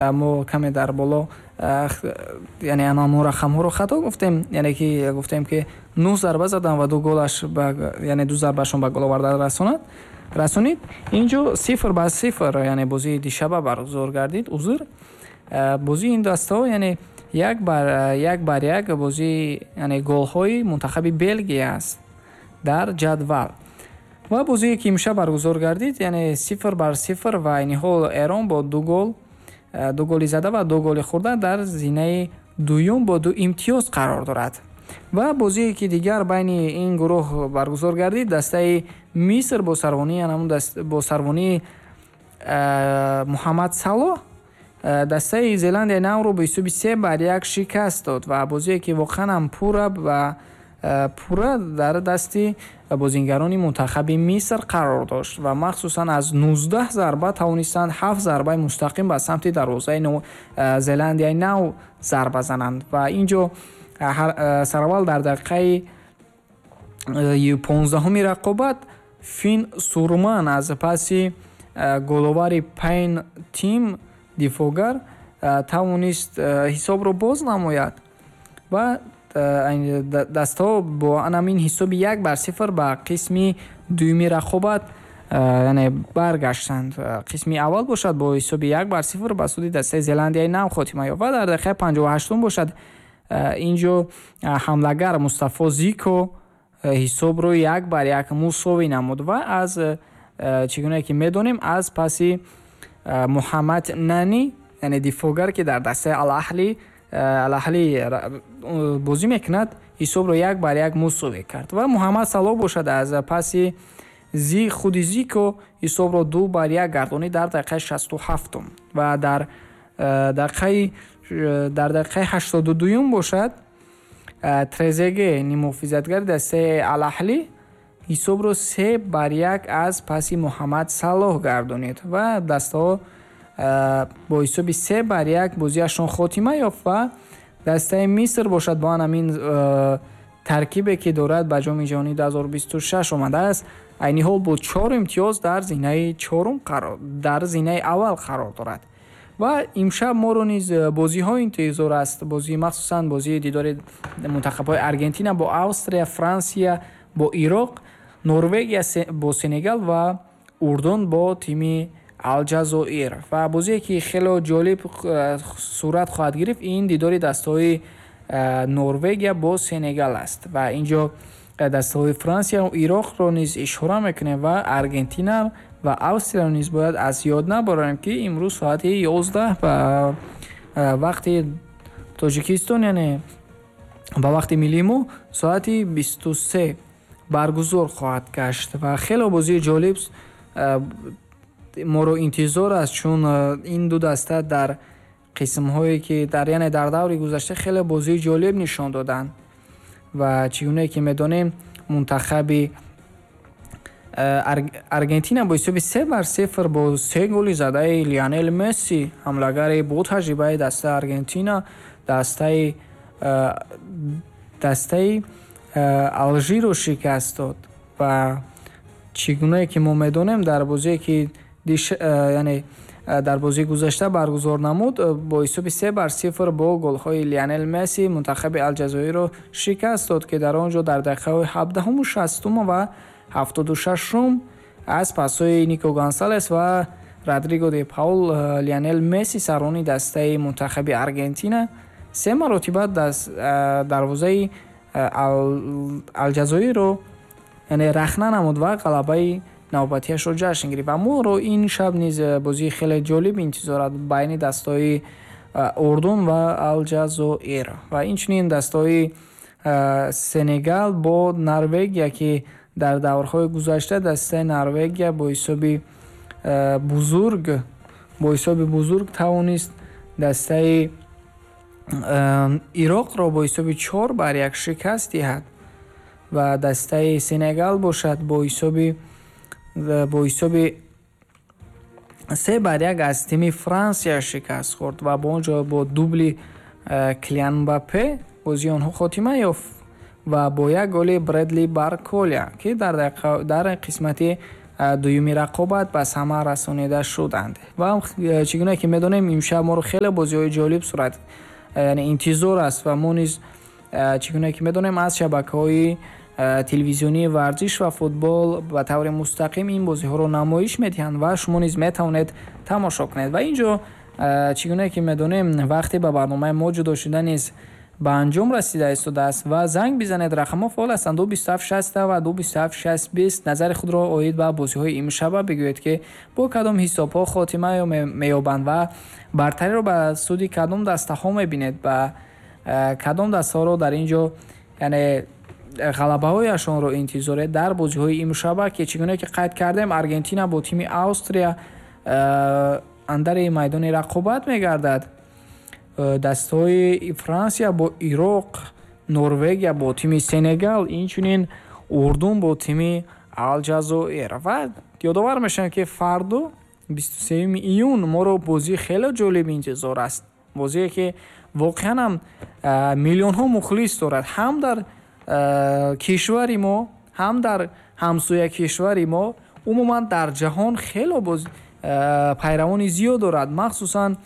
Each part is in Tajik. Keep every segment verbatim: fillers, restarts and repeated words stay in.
Мо каме дар боло, яъне мо рақамҳоро хато гуфтем, яъне ки гуфтем, ки нӯҳ зарба задан ва ду голаш, яъне ду зарбашон ба гол оварда расонад расонид. Инҷо сифр ба сифр, яъне бозии дишаба баргузор гардид. Узр, бозии ин дастаҳо, яъне як бар як бар як бозии, яъне голҳои мунтахаби Белгия аст дар ҷадвал. Ва бозие, ки имшаб баргузор гардид, яъне сифр бар сифр, ва айни ҳол Эрон бо ду гол, ду голи зада ва ду голи хӯрда, дар зинаи дуюм бо ду имтиёз қарор дорад. Ва бозие, ки дигар байни ин гурӯҳ баргузор гардид, дастаи Миср бо сарвонии бо сарвонии Муҳаммад Салоҳ дастаи Зеландияи Навро бо ҳисоби се бар як шикаст дод. Ва бозие, ки воқеан ҳам пурра ва пурра дар дасти бозингарони мунтахаби Миср қарор дошт ва махсусан аз нуздаҳ зарба тавонистанд ҳафт зарбаи мустақим ба самти дарвозаи Зеландияи Нав зарба зананд. Ва инҷо сараввал дар дақиқаи понздаҳуми рақобат Фин Сурман аз паси головари Пайн Тим, дифоъгар, тавонист ҳисобро боз намояд ва дастаҳо бо анамин ҳисоби як бар сифр ба қисми дуюми рақобат, яъне баргаштанд. Қисми аввал бошад, бо ҳисоби як бар сифр ба суди дастаи Зеландияи Нав хотима ёфт. Ва дар дақиқаи панҷоҳу ҳаштум бошад, инҷо ҳамлагар Мустафо Зико ҳисобро як бар як мусовӣ намуд ва аз, чӣ гуна ки медонем, аз паси Муҳаммад Нани, яъне дифоъгар, ки дар дастаи Алаҳли Алаҳли бозӣ мекунад, ҳисобро як бар як мусовӣ кард. Ва Муҳаммад Салоҳ бошад, аз паси зи худи Зико ҳисобро ду бар як гардонид дар дақиқаи шасту ҳафтум. Ва дар дақиқаи дар дақиқаи ҳаштоду дуюм бошад, Трезеге, нимуҳофизатгари дастаи Алаҳлӣ, ҳисобро се бар як аз паси Муҳаммад Салоҳ гардонид ва дастаҳо бо ҳисоби се бар як бозиашон хотима ёфт. Ва дастаи Миср бошад, бо ҳамин таркибе, ки дорад, ба Ҷоми ҷаҳонии дуҳазору бисту шаш омадааст, айни ҳол бо чор имтиёз дар зинаи чорум қарор дар зинаи аввал қарор дорад. Ва имшаб моро низ бозиҳо интизор аст, бозии, махсусан бозии дидори мунтахабҳои Аргентина бо Австрия, Франсия бо Ироқ, Норвегия бо Сенегал ва Урдун бо тими Алҷазоир. Ва бозие, ки хело ҷолиб сурат хоҳад гирифт, ин дидори дастаҳои Норвегия бо Сенегал аст. Ва инҷо дастаҳои Франсия Ироқро низ ишора мекунем ва Аргентина ва Австрияро низ бояд аз ёд набарем, ки имрӯз соати ёздаҳ ба вақти Тоҷикистон, яъне ба вақти миллии мо соати бисту се баргузор хоҳад гашт. Ва хело бозии ҷолиб моро интизор аст, чун ин ду даста дар қисмҳое, ки дар, яъне дар даври гузашта, хеле бозии ҷолиб нишон доданд. Ва чӣ гунае ки медонем, мунтахаби Аргентина бо ҳисоби се бар сифр бо се голи задаи Лионел Месси, ҳамлагари бо таҷрибаи дастаи Аргентина, дастаи дастаи Алжирро шикаст дод. Ва чӣ гунае ки мо медонем, дар бозие, ки яъне дар бозии гузашта баргузор намуд, бо ҳисоби се бар сифр бо голҳои Лионел Месси мунтахаби Алҷазоирро шикаст дод, ки дар он ҷо дар дақиқаҳои ҳабдаҳуму шастум ва ҳафтоду шашум аз пасҳои Нико Гонсалес ва Родриго де Паул Лионел Месси, саррони дастаи мунтахаби Аргентина, се маротиба дарвозаи Алҷазоирро, яъне рахна намуд ва ғалабаи навбатиашро ҷашн гирифт. Ва моро ин шаб низ бозии хеле ҷолиб интизор аст байни дастаҳои Урдун ва Алҷазоир ва инчунин дастаҳои Сенегал бо Норвегия, ки дар даврҳои гузашта дастаи Норвегия бо ҳисоби бузург бо ҳисоби бузург тавонист дастаи Ироқро бо ҳисоби чор бар як шикаст диҳад. Ва дастаи Сенегал бошад, бо ҳисоби бо ҳисоби се бар як аз тими Франсия шикаст хӯрд ва бо он ҷо бо дубли Килиан Мбаппе бозии онҳо хотима ёфт ва бо як голи Бредли Барколя, ки дар дар қисмати дуюми рақобат ба самар расонида шуданд. Ва чӣ гуна ки медонем, имшаб моро хеле бозиҳои ҷолиб сурат, яъне интизор аст ва мо низ чӣ гуна ки медонем аз шабакаҳои телевизионии варзиш ва футбол ба таври мустақим ин бозиҳоро намоиш медиҳанд ва шумо низ метавонед тамошо кунед. Ва инҷо чӣ гуна ки медонем, вақте ба барномаи мо ҷудо шуда низ ба анҷом расида истодааст ва занг бизанед, рақамҳо фаъол ҳастанд: ду бисту ҳафт шаст ва ду бисту ҳафт шаст бист. Назари худро оид ба бозиҳои имшаба бигӯед, ки бо кадом ҳисобҳо хотима меёбанд ва бартариро ба суди кадом дастаҳо мебинед, ба кадом дастаҳоро дар ин ҷо яъне ғалабаҳояшонро интизоред дар бозиҳои имшаба, ки чӣ гуна ки қайд кардем, Аргентина бо тими Австрия андари майдони рақобат мегардад, дастаҳои Франсия бо Ироқ, Норвегия бо тими Сенегал, инчунин Урдун бо тими Алҷазоир. Ва ёдовар мешавем, ки фардо бисту сеюми июн моро бозии хеле ҷолиб интизор аст, бозие ки воқеан ҳам миллионҳо мухлис дорад, ҳам дар кишвари мо, ҳам дар ҳамсоя кишвари мо, умуман дар ҷаҳон хеле боз пайравони зиёд дорад, махсусан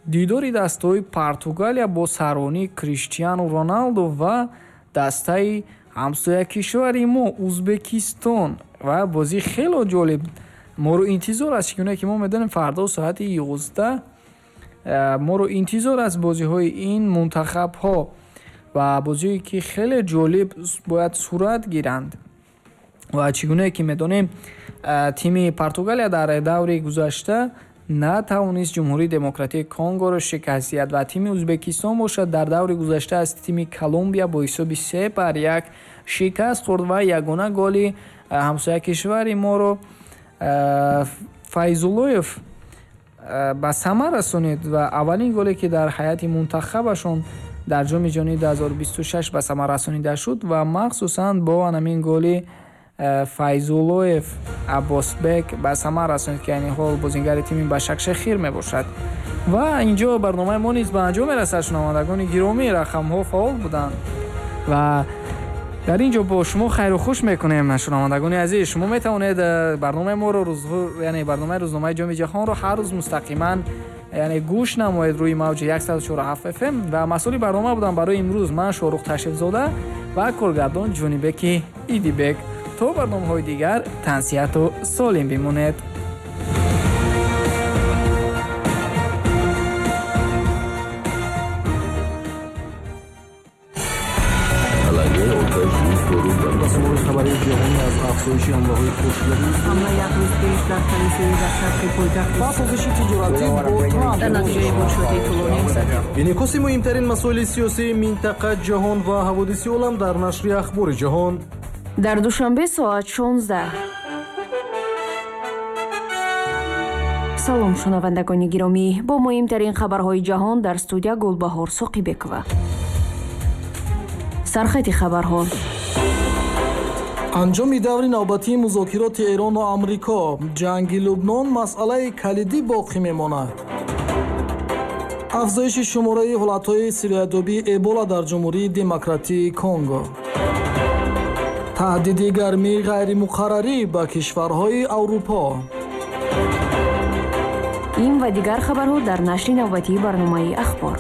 дидори дастаҳои Португалия бо сарвонии Криштиану Роналду ва дастаи ҳамсоя кишвари мо Узбекистон. Ва бозӣ хеле ҷолиб моро интизор аст, чунки ки мо медонем фардо соати ёздаҳ моро интизор аст бозиҳои ин мунтахабҳо ва бозие ки хеле ҷолиб бояд сурат гиранд. Ва чӣ гуна ки медонем, тими Португалия дар даври гузашта натавонист Ҷумҳурии Демократии Конгоро шикаст диҳад ва тими Узбекистон бошад дар даври гузашта аз тими Колумбия бо ҳисоби се бар як шикаст хӯрд ва ягона голи ҳамсоя кишвари моро Файзуллоев ба самар расонид ва аввалин голе ки дар ҳайати мунтахабашон дар ҷоми ҷаҳонии ду ҳазору бисту шаш ба самар расонида шуд ва махсусан бо ҳамин голи Файзуллоев Аббосбек ба самар расонид, ки айни ҳол бозингари тими Башакшехир мебошад. Ва инҷо барномаи мо низ ба анҷом мерасад. Шунавандагони гиромӣ, рақамҳо фаъол буданд ва дар ин ҷо бо шумо хайру хуш мекунем. Шунавандагони азиз, шумо метавонед барномаи моро рӯз, яъне барномаи рӯзномаи ҷоми ҷаҳонро ҳар рӯз мустақиман яъне гӯш намоед рӯи мавҷи яксаду чору ҳафт эф эм. Ва масъули барнома будам барои имрӯз ман Шоҳрух Ташрифзода ва коргардон Ҷонибеки Идибек. То барномаҳои дигар тансиҳату солим бимонед. Хабари ҷаҳонӣ аз афзоиши ҳамлаҳои пошгарӣ, ҳамла як рӯз пеш дар калисои дар шарқи пойтахт ва созиши тиҷоратӣ бо Трамп дар натиҷаи бошоти тӯлонӣ. Инъикоси муҳимтарин масоили сиёсии минтақа, ҷаҳон ва ҳаводиси олам дар нашри Ахбори ҷаҳон. Дар Душанбе соат шонздаҳ. Салом шунавандагони гиромӣ, бо муҳимтарин хабарҳои ҷаҳон дар студия Гулбаҳор Соқибекова. Сархати хабарҳо. Анҷоми даври навбатии музокироти Эрону Амрико, ҷанги Лубнон масъалаи калидӣ боқӣ мемонад. Афзоиши шумораи ҳолатҳои сироятёбии Эбола дар Ҷумҳурии Демократии Конго. Таҳдиди гармии ғайримуқаррарӣ ба кишварҳои Аврупо. Ин ва дигар хабарҳо дар нашри навбатии барномаи Ахбор.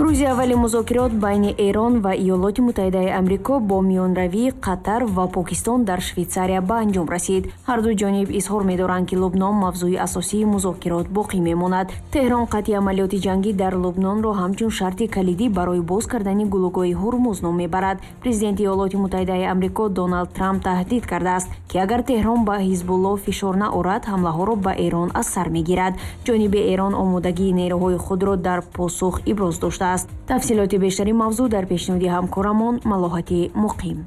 Рӯзи аввали музокирот байни Эрон ва Иёлоти Муттаҳидаи Амрико бо миёнравии Қатар ва Покистон дар Швейтсария ба анҷом расид. Ҳар ду ҷониб изҳор медоранд, ки Лубнон мавзӯи асосии музокирот боқӣ мемонад. Теҳрон қатъи амалиёти ҷангӣ дар Лубнонро ҳамчун шарти калидӣ барои боз кардани гулӯгоҳи Ҳурмуз ном мебарад. Президенти Иёлоти Муттаҳидаи Амрико Доналд Трамп таҳдид кардааст, ки агар Теҳрон ба Ҳизбуллоҳ фишор наорад, ҳамлаҳоро ба Эрон аз сар мегирад. Ҷониби Эрон омодагии нерӯҳои худро дар посух иброз доштааст. Тафсилоти бештари мавзӯъ дар пешниҳоди ҳамкорамон Малоҳати Муқим.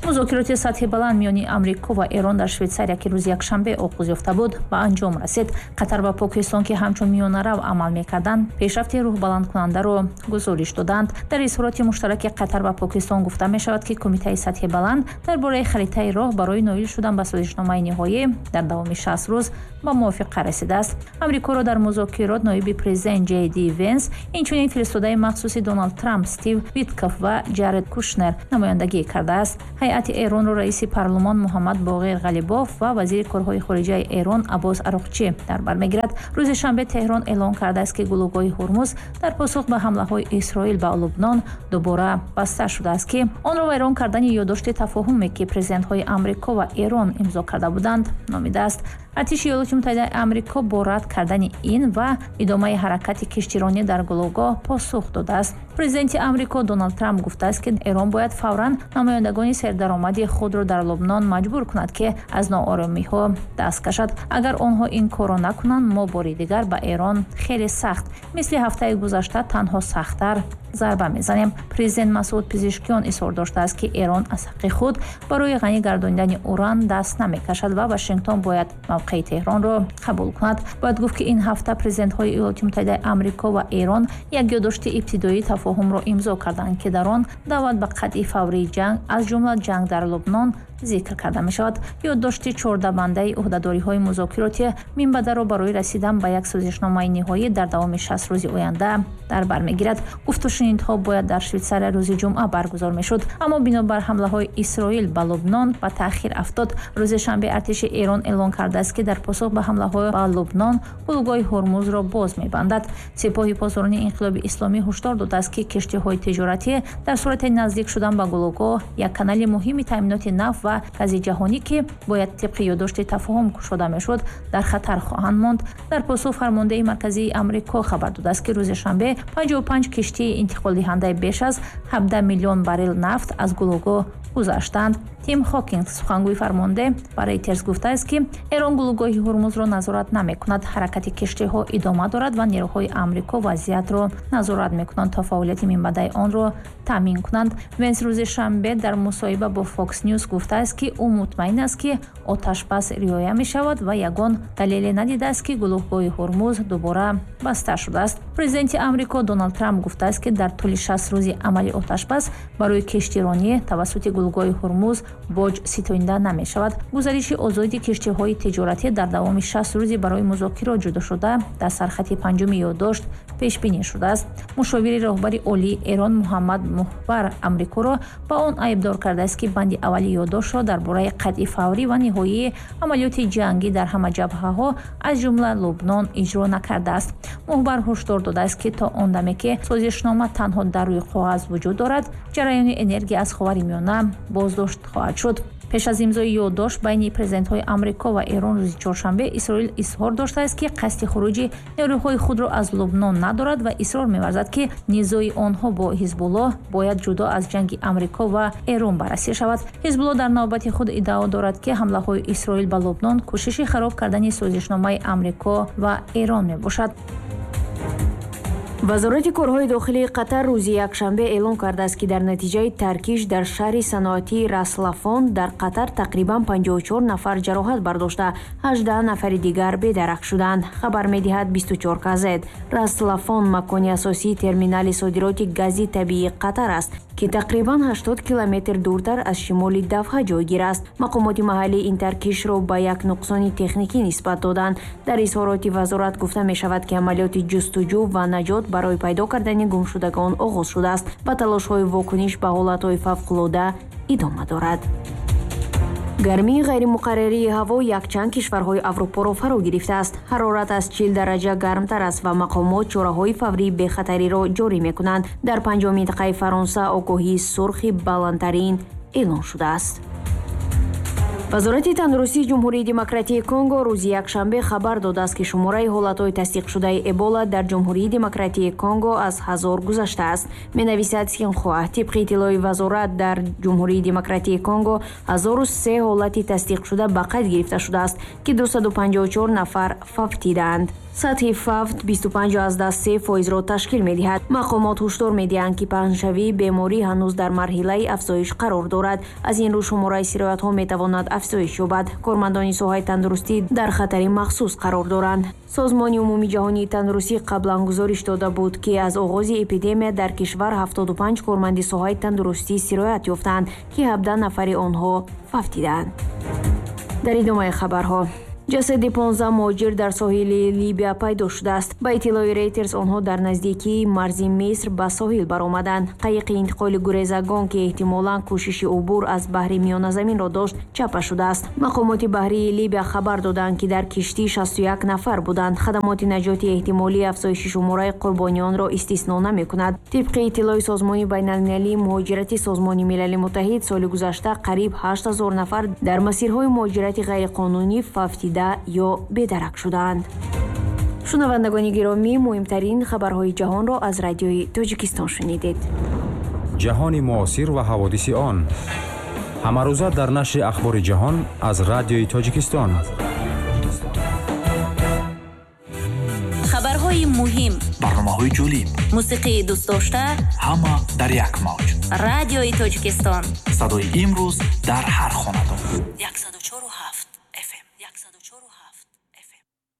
Музокироти сатҳи баланд миёни Амрико ва Эрон дар Швейтсария, ки рӯзи якшанбе оғоз ёфта буд, ба анҷом расид. Қатар ва Покистон, ки ҳамчун миёнарав амал мекарданд, пешрафти рӯҳбаландкунандаро гузориш доданд. Дар изҳороти муштараки Қатар ва Покистон гуфта мешавад, ки кумитаи сатҳи баланд дар бораи харитаи роҳ барои ноил шудан ба созишномаи ниҳоӣ дар давоми шаст рӯз ба мувофиқа расидааст. Амрикоро дар музокирот ноиби президент Ҷей Ди Венс, инчунин фиристодаи махсуси Доналд Трамп Стив Витков ва Ҷаред Кушнер намояндагӣ кардааст. Ҳайати Эронро раиси парлумон Муҳаммад Боғир Ғалибоф ва вазири корҳои хориҷаи Эрон Аббос Ароқчӣ дар бар мегирад. Рӯзи шанбе Теҳрон эълон кардааст, ки гулӯгоҳи Ҳурмуз дар посух ба ҳамлаҳои Исроил ба Лубнон дубора баста шудааст, ки онро вайрон кардани ёддошти тафоҳуме, ки президентҳои Амрико ва Эрон имзо карда буданд, номидааст. Артиши Иёлоти Муттаҳидаи Амрико бо рад кардани ин ва идомаи ҳаракати киштиронӣ дар гулӯгоҳ посух додааст. Президенти Амрико Доналд Трамп гуфтааст, ки Эрон бояд фавран намояндагони сердаромади худро дар Лубнон маҷбур кунад, ки аз нооромиҳо даст кашад. Агар онҳо ин корро накунанд, мо бори дигар ба Эрон хеле сахт, мисли ҳафтаи гузашта, танҳо сахттар зарба мезанем. Президент Масуд Пизишкиён изҳор доштааст, ки Эрон аз ҳаққи худ барои ғанӣ гардонидани уран даст намекашад ва Вашингтон бояд мавқеи Теҳронро қабул кунад. Бояд гуфт, ки ин ҳафта президентҳои Иёлоти Муттаҳидаи Амрико ва Эрон як ёддошти ибтидоии тафоҳумро имзо карданд, ки дар он даъват ба қатъи фаврии ҷанг, аз ҷумла ҷанг дар Лубнон, зикр карда мешавад. Ёддошти чордабандаи ӯҳдадориҳои музокироти минбаъдаро барои расидан ба як созишномаи ниҳоӣ дар давоми шаст рӯзи оянда дар бар мегирад. Гуфтушунидҳо бояд дар Швейтсария рӯзи ҷумъа баргузор мешуд, аммо бинобар ҳамлаҳои Исроил ба Лубнон ба таъхир афтод. Рӯзи шанбе артиши Эрон эълон кардааст, ки дар посух ба ҳамлаҳо ба Лубнон гулӯгоҳи Ҳурмузро боз мебандад. Сипоҳи посдорони инқилоби исломӣ ҳушдор додааст, ки киштиҳои тиҷоратӣ дар сурати наздик шудан ба гулӯгоҳ, як канали муҳими таъминоти нафт ва гази ҷаҳонӣ, ки бояд тибқи ёддошти тафоҳум кушода мешуд, дар хатар хоҳанд монд. Дар посух фармондеҳи марказии Амрико хабар додааст, ки рӯзи шанбе панҷоҳу панҷ киштии интиқолдиҳандаи беш аз ҳабдаҳ миллион баррел нафт аз гулӯгоҳ гузаштанд. Тим Хокинг, сухангӯи фармонде, ба Рейтерс гуфтааст, ки Эрон гулӯгоҳи Ҳурмузро назорат намекунад. Ҳаракати киштиҳо идома дорад ва нерӯҳои Амрико вазъиятро назорат мекунанд то фаъолияти минбаъдаи онро таъмин кунанд. Венс рӯзи шанбе дар мусоҳиба бо Fox News гуфтааст, ки ӯ мутмаин аст, ки оташбас риоя мешавад ва ягон далеле надидааст, ки гулӯгоҳи Ҳурмуз дубора баста шудааст. Президенти Амрико Доналд Трамп гуфтааст, ки дар тӯли шаст рӯзи амали оташбас барои киштиронӣ тавассути гулӯгоҳи Ҳурмуз боҷ ситонида намешавад. Гузариши озоди киштиҳои тиҷоратӣ дар давоми шаст рӯзи барои музокирот ҷудошуда дар сархати панҷуми ёддошт пешбинӣ шудааст. Мушовири роҳбари олии Эрон Муҳаммад Муҳбар Амрикоро ба он айбдор кардааст, ки банди аввали ёддоштро дар бораи қатъи фаврӣ ва ниҳоии амалиёти ҷангӣ дар ҳама ҷабҳаҳо, аз ҷумла Лубнон, иҷро накардааст. Муҳбар ҳушдор додааст, ки то он даме ки созишнома танҳо дар рӯи коғаз вуҷуд дорад, ҷараёни энергия аз Ховари Миёна боздошт хоҳад шуд. Пеш аз имзои ёддошт байни президентҳои Амрико ва Эрон рӯзи чоршанбе Исроил изҳор доштааст, ки қасди хуруҷи нерӯҳои худро аз Лубнон надорад ва исрор меварзад, ки низои онҳо бо Ҳизбуллоҳ бояд ҷудо аз ҷанги Амрико ва Эрон баррасӣ шавад. Ҳизбуллоҳ дар навбати худ иддао дорад, ки ҳамлаҳои Исроил ба Лубнон кӯшиши хароб кардани созишномаи Амрико ва Эрон мебошад. Вазорати корҳои дохилии Қатар рӯзи якшанбе эълон кардааст, ки дар натиҷаи таркиш дар шаҳри саноатии Раслафон дар Қатар тақрибан панҷоҳу чор нафар ҷароҳат бардошта, ҳаждаҳ нафари дигар бедарак шуданд. Хабар медиҳад бисту чор казет. Раслафон макони асосии терминали содироти гази табиии Қатар аст, ки тақрибан ҳаштод километр дуртар аз шимоли Давҳа ҷойгир аст. Мақомоти маҳаллӣ ин таркишро ба як нуқсони техникӣ нисбат доданд. Дар изҳороти вазорат гуфта мешавад, ки амалиёти ҷустуҷӯ ва наҷот барои пайдо кардани гумшудагон оғоз шудааст ва талошҳои вокуниш ба ҳолатҳои фавқулода идома дорад. Гармии ғайримуқаррарии ҳаво якчанд кишварҳои Аврупоро фаро гирифтааст. Ҳарорат аз чил дараҷа гармтар аст ва мақомот чораҳои фаврии бехатариро ҷорӣ мекунанд. Дар панҷоҳ минтақаи Фаронса огоҳии сурхи баландтарин эълон шудааст. Вазорати тандурустии Ҷумҳурии Демократии Конго рӯзи якшанбе хабар додааст, ки шумораи ҳолатҳои тасдиқшудаи Эбола дар Ҷумҳурии Демократии Конго аз ҳазор гузаштааст. Менависад Синхуа. Тибқи иттилои вазорат, дар Ҷумҳурии Демократии Конго ҳазору се ҳолати тасдиқшуда ба қайд гирифта шудааст, ки дусаду панҷоҳу чор нафар фавтидаанд. Сатҳи фавт бисту панҷ аз даҳ се фоизро ташкил медиҳад. Мақомот ҳушдор медиҳанд, ки паҳншавии беморӣ ҳанӯз дар марҳилаи афзоиш қарор дорад. Аз ин рӯ шумораи сироятҳо метавонад афзоиш ёбад. Кормандони соҳаи тандурустӣ дар хатари махсус қарор доранд. Созмони умумии ҷаҳонии тандурустӣ қаблан гузориш дода буд, ки аз оғози эпидемия дар кишвар ҳафтоду панҷ корманди соҳаи тандурустӣ сироят ёфтанд, ки ҳабдаҳ нафари онҳо фавтидаанд. Дар идомаи хабарҳо Ҷасади понздаҳ муҳоҷир дар соҳили Либия пайдо шудааст. Ба иттилои Рейтерс, онҳо дар наздикии марзи Миср ба соҳил баромаданд. Қайиқи интиқоли гурезагон, ки эҳтимолан кӯшиши убур аз баҳри Миёназаминро дошт, чапа шудааст. Мақомоти баҳрии Либия хабар доданд, ки дар киштӣ шасту як нафар буданд. Хадамоти наҷоти эҳтимолии афзоиши шумораи қурбониёнро истисно намекунад. Тибқи иттилои Созмони байналмилалии муҳоҷирати Созмони Милали Муттаҳид, соли гузашта қариб ҳашт ҳазор нафар дар масирҳои муҳоҷирати ғайриқонунӣ фавтида ё бедарак шудаанд. Шунавандагони гиромӣ, муҳимтарин хабарҳои ҷаҳонро аз Радиои Тоҷикистон шунидед. Ҷаҳони муосир ва ҳаводиси он ҳамарӯза дар нашри Ахбори ҷаҳон аз Радиои Тоҷикистон. Хабарҳои муҳим, барномаҳои ҷолиб, мусиқии дӯстдошта, ҳама дар як мавҷ. Радиои Тоҷикистон, садои имрӯз дар ҳар хонадон. Яксаду чору